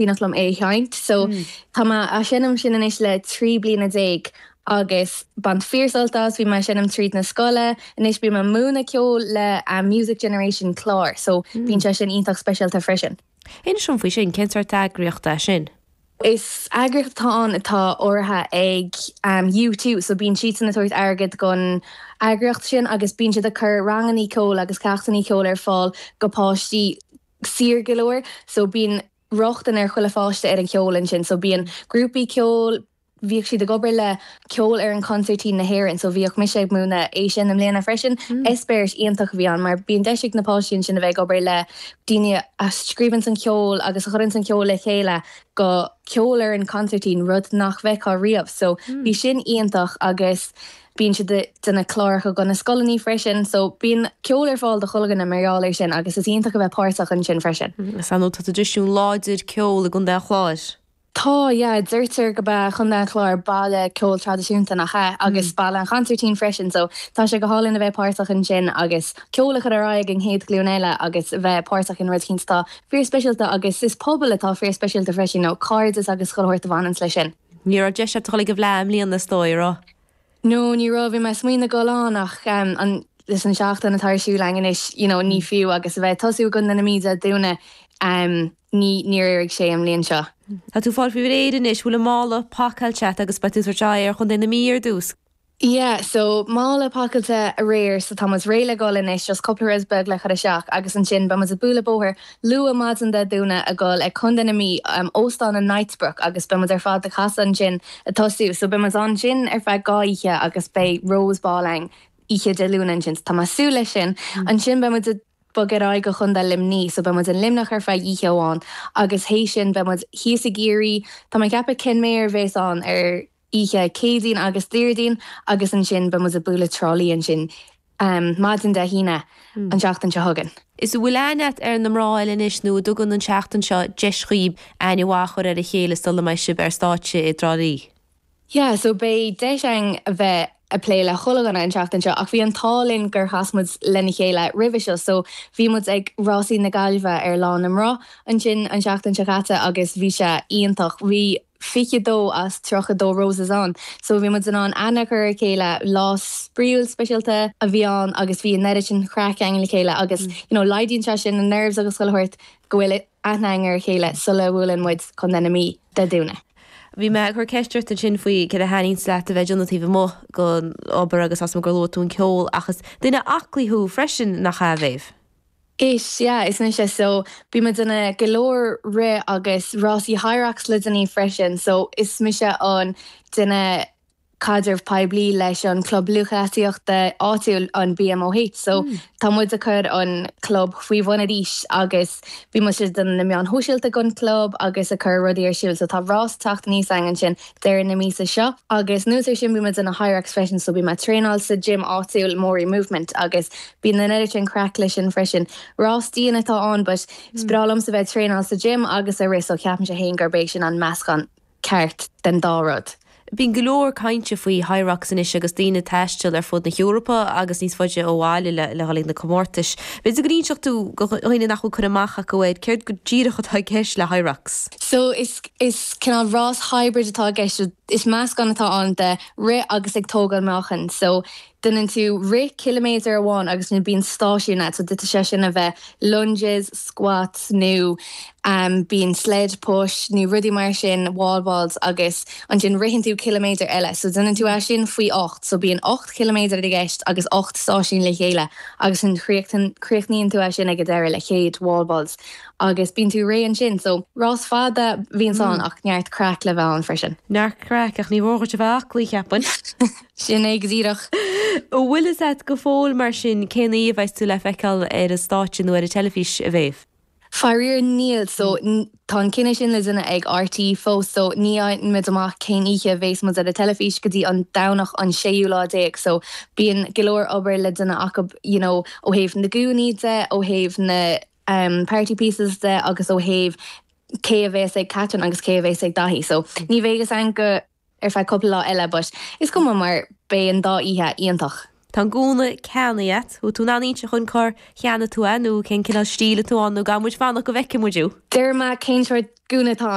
Cuimhneach liom é a sheinnt. So tá mé á seinm sin anois le 13 bliana agus baint fíorsult as, bhí mé ag seinm tríd na scoile, anois bím ag múineadh ceoil le Music Generation clár so bíonn sé sin iontach speisialta freisin. Inis dom faoi sin, cén sórt eagraíocht é sin? Is eagraíocht atá ann atá urraithe ag U2 so bíonn siadsan ag tabhairt airgead don eagraíocht sin agus bíonn siad ag cur rangannaí ceoil agus ceachtannaí ceoil ar fáil go páistí saor go leor so bíonn rochtain ar chuile pháiste ar an cheol ansin so bíonn grúpaí ceoil, bhíodh siad ag obair le Ceolfhoireann Consairtín na hÉireann so bhíodh mise ag múineadh é sin i mbliana freisin. Eispéireas iontach a bhí ann mar bíonn deis ag na páistí ansin a bheith ag obair le daoine a scríobhanns an ceol agus a chuireanns an ceol le chéile go ceolfhoireann consairtín, rud nach bhfeicfeá riamh so bhí sin iontach agus Bíonn siad ag déanamh cláracha do na scoileanna freisin so bíonn ceol ar fáil do chuile dhuine mar gheall air sin agus is iontach a bheith páirteach ansin freisin. Is ar ndóigh tá traidisiún láidir ceoil i gContae an Chláir. Tá, yeah. Deirtear gurb é Contae an Chláir baile ceoil traidisiúnta, nach ea? Agus baile an chonsairtín freisin so tá sé go hálainn a bheith páirteach ansin agus ceol a chur ar aghaidh ag an chéad ghlúin eile agus a bheith páirteach in rud eicínt atá fíorspeisialta agus is pobal atá fíorspeisialta freisin, you know, cairdeas agus chuile shórt a bhaineanns leis sin. Ní raibh deis agat a dhul ag an bhFleadh i mbliana is dóigh, an raibh? No, ní raibh. Bhí mé ag smaoineamh dul ann ach an leis an seachtain atá ar siúl againn anois, you know, ní fiú agus a bheith ag tosú i gContae na Mí Dé Domhnaigh, ní, níor éirigh sé an bhliain seo. Tá tú ag fáil faoi réir anois, bhfuil an mála pacáilte agat agus beidh tú ag tabhairt aghaidh ar Chontae na Mí ar dtús? Yeah, so mála pacáilte aréir so tá muid réidh le dhul anois, just cúpla rud beag le chur isteach agus ansin beidh muid ag bualadh bóthair luath maidin Dé Domhnaigh ag dhul ag Contae na Mí, Óstán an Knightsbrook agus beidh muid ar fad ag casadh ansin ag tosú. So beidh muid ansin ar feadh 2 oíche agus beidh Rose Ball ann oíche Dé Luain ansin so tá mé ag súil leis sin. Ansin beidh muid ag bogadh ar aghaidh go Chontae Luimní so beidh muid in Luimneach ar feadh oíche amháin agus théis sin beidh muid thíos i gCiarraí, tá mé ag ceapadh Kenmare a bhéas ann ar oíche Céadaoin agus Déardaoin agus ansin beidh muid ag bualadh Trá Lí ansin maidin Dé hAoine an tseachtain seo chugainn. Is an bhfuil aithne agat ar na mná eile anois nó an dtugann an tseachtain seo deis dhaoib aithne mhaith a chur ar a chéile sula mbeidh sibh ar stáitse i dTrá Lí? Yeah, so beidh deis againn a bheith ag plé le chuile dhuine an tseachtain seo ach bhí an t-ádh linn gur chas muid lena chéile roimhe seo so bhí muid ag Rásaí na Gaillimhe ar Lá na Mná ansin an tseachtain seo caite agus bhí sé iontach. Bhí 22 as 32 Roses ann so bhí muid in ann aithne a chur ar a chéile, lá spraíúil speisialta a bhí ann agus bhí an oiread sin craic againn le chéile agus you know laghdaíonn sé sin na nerves agus chuile shórt go bhfuil aithne againn ar a chéile sula bhuaileann muid Contae na Mí Dé Domhnaigh. Bhí mé ag cur ceist ort ansin faoi céard a thaitníonns leat a bheith ag déanamh taobh amuigh den obair agus tá 's agam gur luaigh tú an ceol ach is duine aclaí thú freisin, nach ea, a Mhéabh? Is ea, is mise. So, bím ag déanamh go leor rith agus rásaí Hyrox le déanaí freisin. So, is mise an duine caidreamh poiblí leis an club lúthchleasaíochta áitiúil, an BMOH. So, tá muid ag cur an club faoi bhun arís agus bíonn muid ag déanamh na meáin shóisialta don club agus ag cur rudaí ar siúl. So, tá rás ag teacht aníos againn ansin deireadh na míosa seo. Agus anuas ar sin bíonn muid ag déanamh Hyrox freisin so bíonn mé ag traenáil sa gym áitiúil Mori Movement agus bíonn an oiread sin craic leis sin freisin. Rás dian atá ann but is breá liomsa bheith ag traenáil sa gym agus ag rith so ceapaimse féin gurb é sin an meascán ceart den dá rud. Bíonn go leor cainte faoi Hyrox anois agus daoine ag taisteal ar fud na hEorpa agus níos faide ó bhaile le dhul ag na comórtais. B'fhéidir go n-inseodh tú do dhaoine nach bhfuil cur amach acu air céard go díreach atá i gceist le Hyrox? So is is cineál rás hybrid atá i gceist. Is meascán atá ann de rith agus ag tógáil meáchain. So déanann tú rith ciliméadar amháin agus ansin bíonn stáisiún agat. So d'fhéadfadh sé sin a bheith lunges, squats nó bíonn sled push nó rudaí mar sin, wall balls agus ansin ritheann tú ciliméadar eile. So déanann tú é sin faoi 8. So bíonn 8 chiliméadar i gceist agus 8 stáisiún le chéile agus ansin críochnaíonn tú é sin ag an deireadh le 100 wall balls. Agus bíonn tú réidh ansin. So, rás fada a bhíonns ann ach neart craic le bheith ann freisin. Neart craic, ach ní mhór dhuit a bheith aclaí, cheapfainn. Sin é go díreach. An bhfuil fhios a't go fóill mar sin cén oíche a bheas tú le feiceáil ar an stáitse nó ar an teilifís, a Mhéabh? Faraor níl. So, tá an cinneadh sin le déanamh ag RTÉ fós so ní fhaigheann muid amach cén oíche a bhéas muid ar an teilifís go dtí an Domhnach an séú lá déag. So, bíonn go leor obair le déanamh acu you know ó thaobh na gúnaí de, ó thaobh na. party pieces de agus ó thaobh cé a bhéas ag Catherine agus cé a bhéas ag Daithí. So ní bheidh fhios againn go ar feadh cúpla lá eile but is cuma mar beidh an dá oíche iontach. Tá an gúna ceannaithe a't, bhfuil tú in ann inse dhúinn cár cheannaigh tú é nó cén cineál stíl atá ann nó gcaithfidh muid fanacht go bhfeicfidh muid thú? Déarfaidh mé cén sórt gúna atá ann.